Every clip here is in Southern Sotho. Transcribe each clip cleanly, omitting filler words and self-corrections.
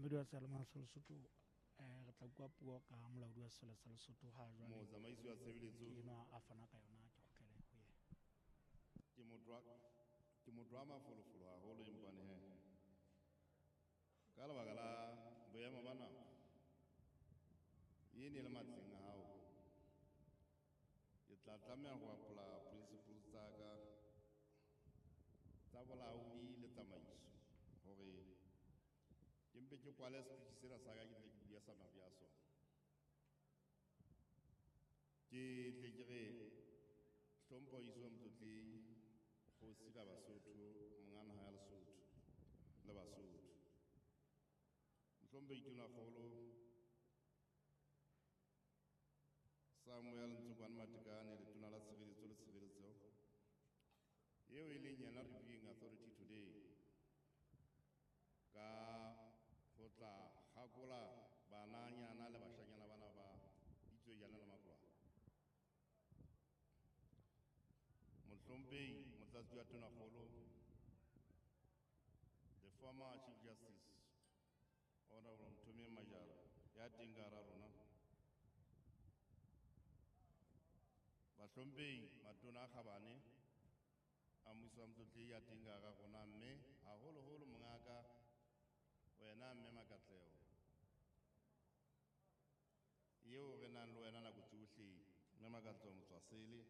Mamedi wa Seyalemoya sa Lesotho, re tla bua puo ka molaodi wa sesole sa Lesotho ha jwale. Motsamaisi wa tshebeletso. Ke enwa a fana ka yona, ke kgutlele ho yena. Ke motho wa mafolofolo haholo, empane he ka lebaka la boemo ba nako e ne le matleng a hao, ke tla tlameha ho apola principles tsa ka tsa bolaodi le tsamaiso hore ke mpe ke kwale speech sena sa ka, ke tle ke bue summary ya sona. Ke tle ke re hlompho iswe motlotlehi kgosi la Basotho, monga naha ya Lesotho le Basotho. Mohlomphehi Tonakgolo Samuel Ntsokwane Matekane, letona la tshireletso le tshireletso eo e leng yena reviewing authority today, ka ho tla kgakola bananyana le bashanyana bana ba ditswejana le makolwane. Mohlomphehi Motlatsi wa Tonakgolo, the former Chief Justice Honorable Nthomeng Majara ya teng ka hara rona. Bahlomphehi matona a kgabane a mmuso wa motlotlehi ya teng ka hara rona, mme haholoholo mongaka wena mme Makatleho eo re nang le wena nako tsohle, mme Makatleho Motswasele,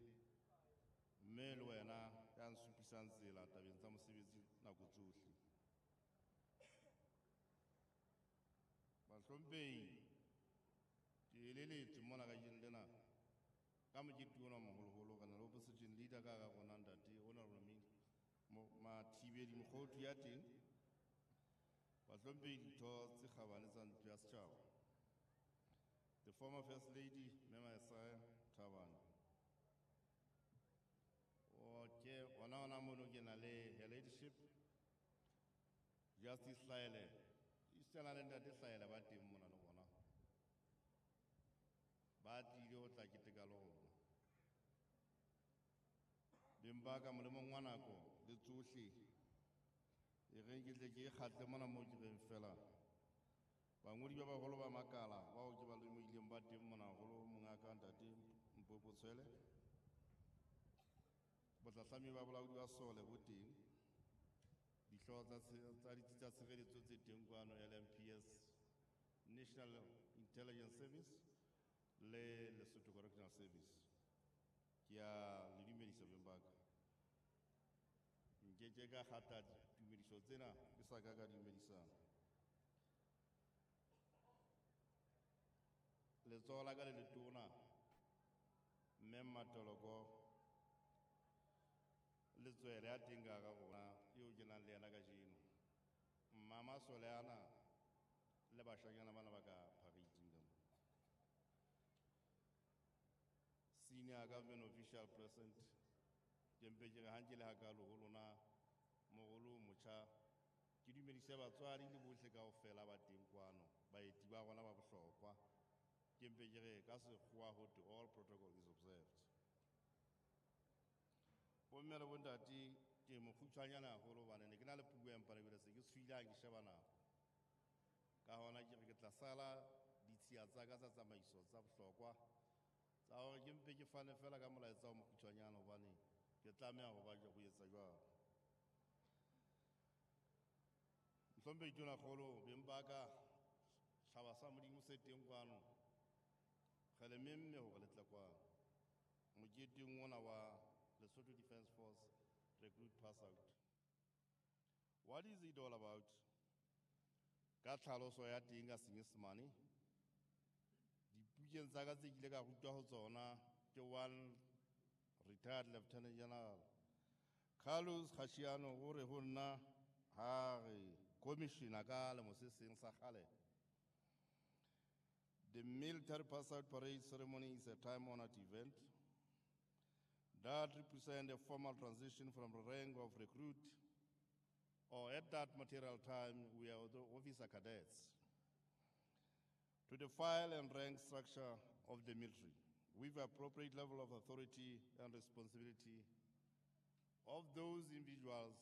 mme le wena ya nsupisang tsela tabeng tsa mosebetsi nako tsohle. Bahlomphehi, ke eleletswe mona kajeno lena ka mokete ona moholoholo, re na le opposition leader ka hara rona ntate Honorable Mathibeli Mokhothu ya teng. Bahlomphehi ditho tse kgabane tsa ntlo ya setjhaba, the former First Lady Mme Maesaiah Thabane. Okay, hona mono ke na le her ladyship Justice Hlaele, isitana le ntate Hlaele ba teng mona le bona, ba tlile ho tla keteka le rona. Beng ba ka molemong wa nako le tsohle, e reng ke tle ke kgatle mona moo ke reng fela bangodi ba baholo ba makala bao ke ba lemohileng ba teng mona haholo, mongaka ntate Mpopo Tshwele, bohlahlami ba bolaodi ba sole bo teng, dihlooho tsa ditsi tsa tshireletso tse teng kwano, LMPS, National Intelligence Service le Lesotho Correctional Service. Ke a le dumedisa beng ba ka. Nkeke ka kgata ditumediso tsena ke sa ka ka dumedisana. Letsoho la ka le letona mme Mmatoloko Letswele ya teng ka hara rona eo ke nang le yena kajeno. Mma masole ana le bashanyana bana ba ka parading ka mo. Senior government official present, ke mpe ke re ha nke le hakalo ho lona moholo motjha, ke dumedise batswadi le bohle kaofela ba teng kwano, baeti ba rona ba bohlokwa. Ke mpe ke re ka sekgowa ho thwe all protocol is observed. Bomme le bontate, ke mokgutshwanyane haholo hobane ne ke na le puo empa jwale se ke tshohile ha ke sheba nako. Ka hona ke re ke tla sala ditshiya tsa ka tsa tsamaiso tsa bohlokwa tsa hore ke mpe ke fane fela ka molaetsa o mokgutshwanyane hobane ke tlameha ho ba ho etsa jwalo. Mohlomphehi Tonakgolo, beng ba ka, hlaba sa Modimo se teng kwano, re le memme hore le tle kwano moketeng ona wa Lesotho Defence Force Recruit Pass Out. What is it all about? Ka tlhaloso ya teng ka Senyesemane, dipukeng tsa ka tse ke ile ka rutwa ho tsona ke one retired Lieutenant General Carlos Gashiano, o re ho nna ha re commissioner ka lemo se seng sa kgale. The military pass out parade ceremony is a time-honored event that represents a formal transition from the rank of recruit, or at that material time we are the officer cadets, to the file and rank structure of the military with appropriate level of authority and responsibility of those individuals